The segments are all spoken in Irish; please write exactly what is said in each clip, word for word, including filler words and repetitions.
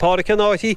Pádraic an Áthaí,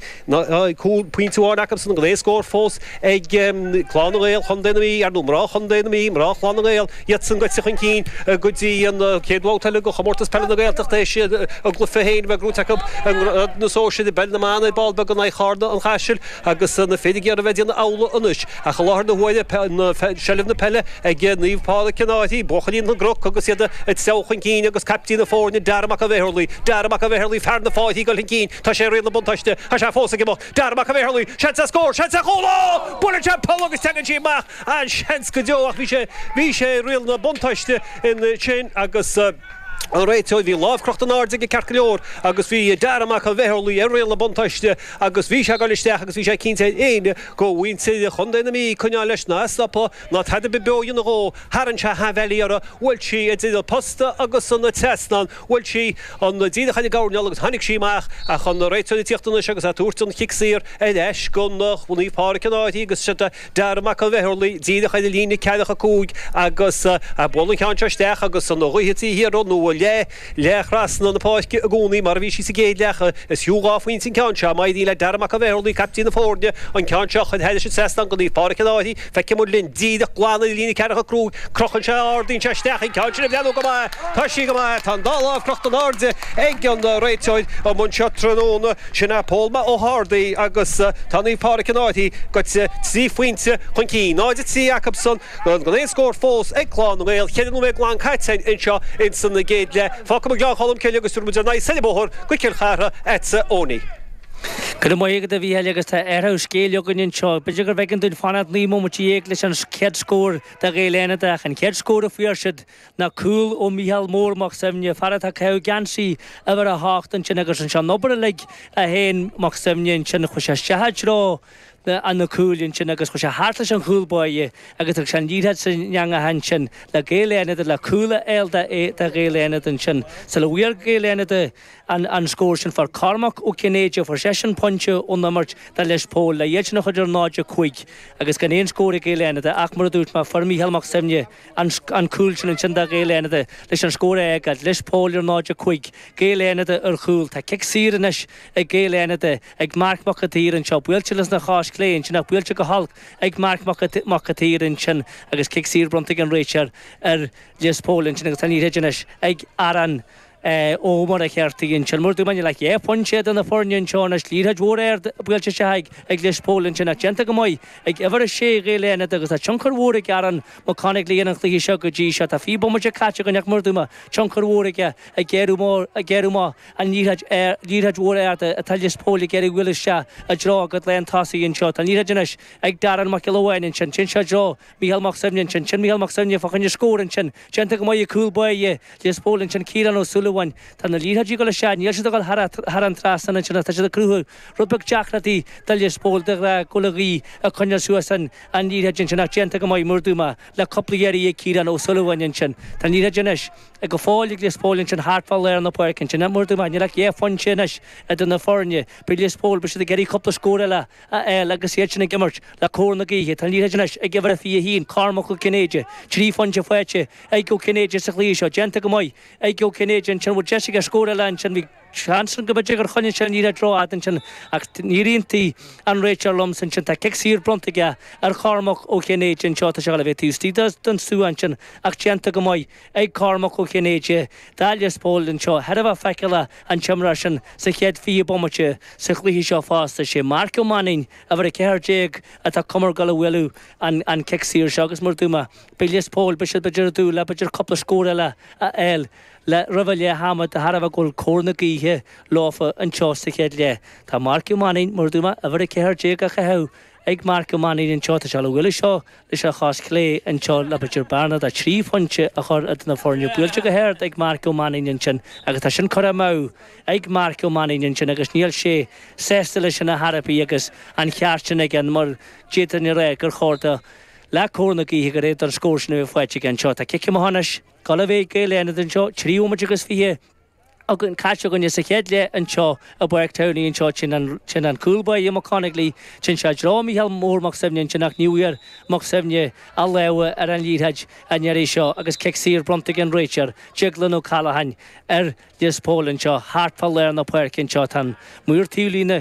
cúl pointe amháin acusan gan aon scór fós ag Clann na nGael Chontae na Mí, ar ndóigh mná Chontae na Mí, mná Chlann na nGael, iadsan gaibhte chun cinn go dtí an chéad bhabhta eile de Chomórtas Peile na Gaeltachta théis a gcluiche féin a bheith gnóite acu i ngrád na sóisear i bPeil na mBan ar ball beag in aghaidh Charna an Chaisil agus na fir ag iarraidh a bheith ag déanamh amhlaidh anois. Ach i láthair na huaire, seilbh na peile ag Naomh Pádraig an Fhairche, buachaillí na gCnoc agus iad ag treabhadh chun cinn agus caiptín na foirne Dara Mac an Bhéarlaí, Dara Mac an Bhéarlaí, fear na Fáirche ag dul chun cinn, tá sé ar riail na buntáiste, tá sé fós ag imeacht, Dara Mac an Bhéarlaí, seans ar scór, seans ar chúl, ó! Buaileann sé an poll agus teagann sí amach, an-seans go deo ach bhí sé, bhí sé ar riail na buntáiste ansin agus an réiteoir, bhí lámh crochta in airde aige ceart go leor agus bhí Dara Mac an Bhéarlaí ar riail na buntáiste agus bhí sé ag dul isteach agus bhí sé cinnte ar éinne de mhuintir Chontae na Mí coinneáil leis ná stopadh ná tada ar bith beo a dhéanamh dhó, tharraing sé aimhleith orthu, bhuail sí idir an posta agus an trasnán, bhuail sí an díreach ar an gcoirnéal agus tháinig sí amach ach an réiteoir ag tíocht anois agus ag tabhairt an chic saor ar ais go Naomh Pádraig an Fhairche agus siod Dara Mac an Bhéarlaí díreach ar an líne ceathracha cúig agus buail an ceann seo isteach agus an ghaoth trí hiarraidh nó leath leath thrasna na páirce i gcónaí mar a bhí sí sa gcéad leath. Is fiú dhá phointe an ceann seo. Má éiríonn le Dara Mac an Bhéarlaí, caiptín na foirne, an ceann seo a chur thairis an trasnán go Naomh Pádraig an Fhairche, feicfidh muid linn díreach glan ar an líne ceathracha cúig. Crochann sé, ardaíonn sé isteach an ceann sin ag breathnú go maith. Tá sí go maith. Tá an dá lámh crochta in airde ag an réiteoir amuigh anseo tráthnóna. Sin é Pól Ó hArdaí agus tá Naomh Pádraig an Fhairche gaibhte trí phointe chun cinn. náid a trí acusan gan aon scór fós ag Clann na nGael. Ceithre nóiméad glan caite anseo ins an gcéad leath. Fágfaidh muid Gleann Cholm Cille agus tabharfaidh muid ár n-aghaidh soir an bóthar go Cill Chartha agatsa Owenie. Go raibh maith agat a Mhícheáil agus tá athrú scéil againn anseo. B'fhéidir gurbh éigean dúinn fanacht naoi mbomaite dhéag leis an chéad scór do Ghaeil Fhánada ach an chéad scór a fuair siad ná cúl ó Mhícheál Mór Mac Suibhne, fear atá ag caitheamh geansaí uimhir a hocht ansin agus anseo an obair uilig a dhein Mac Suibhne ansin chuaigh sé isteach i dtreo na cúil ansin agus chuaigh sé thart leis an chúl báire agus thug sé an liathróid san eangach ansin le Gaeil Fhánada le cúl a fháil do Ghaeil Fhánada ansin. Sula bhfuair Gaeil Fhánada an an scór sin fuair Cormac Ó Cinnéide, fuair seisean pointe ón imirt do Lios Póil le iad sin a chur ar náid a cúig agus gan aon scór ag Gaeil Fhánada ach mar a dúirt mé fuair Mícheál Mac Suibhne an an cúl sin ansin do Ghaeil Fhánada leis an scór a fhágáil, Lios Póil ar náid a cúig, Gaeil Fhánada ar chúl. Tá cic saor anois ag Gaeil Fhánada ag Marc Mac an tSaoir anseo, buailte leis na chos clé ansin ach buailte go holc ag Marc Mac an tSaoir ansin agus cic saor bronnta ag an réiteoir ar Lios Póil ansin agus tá an liathróid anois ag Aaron Ó Muircheartaigh ansin. Mar a dúirt mé níl ach dhá phointe idir na foirne anseo anois. Liathróid mhór ard buailte isteach ag Lios Póil ansin ach déanta go maith ag uimhir a sé Ghaeil Fhánada agus tá tionchar mhór ag Aaron Mac Conaill ar an chluiche seo go dtí seo. Tá fiche bomaite caite againn ach mar a dúirt mé tionchar mhór aige ag géarú ag géarú amach an liathróid liathróid mhór ard atá Lios Póil ag iarraidh a bhualadh isteach i dtreo a gcuid lán tosaí anseo. Tá an liathróid anois ag Darren Mac Giolla Bháin ansin. Téann sé i dtreo Mícheál Mac Suibhne ansin. Sin Mícheál Mac Suibhne fá choinne scór ansin. Déanta go maith ag cúl báire Lios Póil ansin Ciarán Ó Súilleabháin. Tá na liathróidí ag dul isteach, níl siad ag dul thar an trasnán ansin ach tá siad ag cruthú rud beag deacrachtaí do Lios Póil de ghnáth go bhfuil an ghaoth ag coinneáil suas an liathróid ansin ach déanta go maith mar a dúirt mé le cúpla iarraidh ag Ciarán Ó Súilleabháin ansin. Tá an liathróid anois ag go fóill ag Lios Póil ansin thart fá lár na páirce ansin. Mar a dúirt mé, níl ach dhá phointe anois idir na foirne. Beidh Lios Póil, beidh siad ag iarraidh cúpla scór eile a fháil agus iad sin ag imirt le cóir na gaoithe. Tá an liathróid anois ag uimhir a fiche a haon, Cormac Ó Cinnéide. Trí phointe faighte ag Ó Cinnéide sa chluiche seo. Déanta go maith ag Ó Cinnéide ansin. Bhfuil deis aige scór eile ansin? Bhí seans ann go mb'fhéidir gur choinnigh sé an liathróid rófhada ansin ach níor aontaigh an réiteoir liomsa ansin. Tá cic saor bronnta aige ar Chormac Ó Cinnéide anseo. Tá sé ag dul a bheith taobh istigh den stua ansin ach déanta go maith ag Cormac Ó Cinnéide do Lios Póil anseo. Thar a bheith feiceálach an t-imreoir sin sa chéad fiche bomaite sa chluiche seo fosta. Sé Marc Ó Mainnín, uimhir a ceathair déag, atá cuma ag dul a bhualadh an cic saor seo agus mar a dúirt mé, beidh Lios Póil, beidh siad b'fhéidir ag dúil le b'fhéidir cúpla scór eile a fháil le roimh leath ama de thairbhe go bhfuil cóir na gaoithe leofa anseo sa chéad leath. Tá Marc Ó Mainnín, mar a dúirt mé, uimhir a ceathair déag á chaitheamh ag Marc Ó Mainnín anseo. Tá sé le bualadh seo leis an chos chlé anseo le b'fhéidir bearna de trí phointe a chur idir na foirne. Buailte go hard ag Marc Ó Mainnín ansin agus tá sin curtha amú ag Marc Ó Mainnín ansin agus níl sé sásta leis sin ar chor ar bith agus an cheart sin aige mar d'fhéadfainn a rá gur chóir do le cóir na gaoithe gur fhéad an scór sin a bheith faighte aige anseo. Tá cic amach anois ag dul a bheith ag Gaeil Fhánada anseo, trí bhomaite agus fiche againn caite againne sa chéad leath anseo i bPáirc Towney anseo sin an sin an cúl báire Mac Conagly sin sé i dtreo Mícheál Mór Mac Suibhne ansin ach ní bhfuair Mac Suibhne a lámha ar an liathróid an iarraidh seo agus cic saor bronnta ag an réiteoir Deaglán Ó Callaghan ar Lios Póil anseo thart fá lár na páirce anseo tá an maor taobhlíne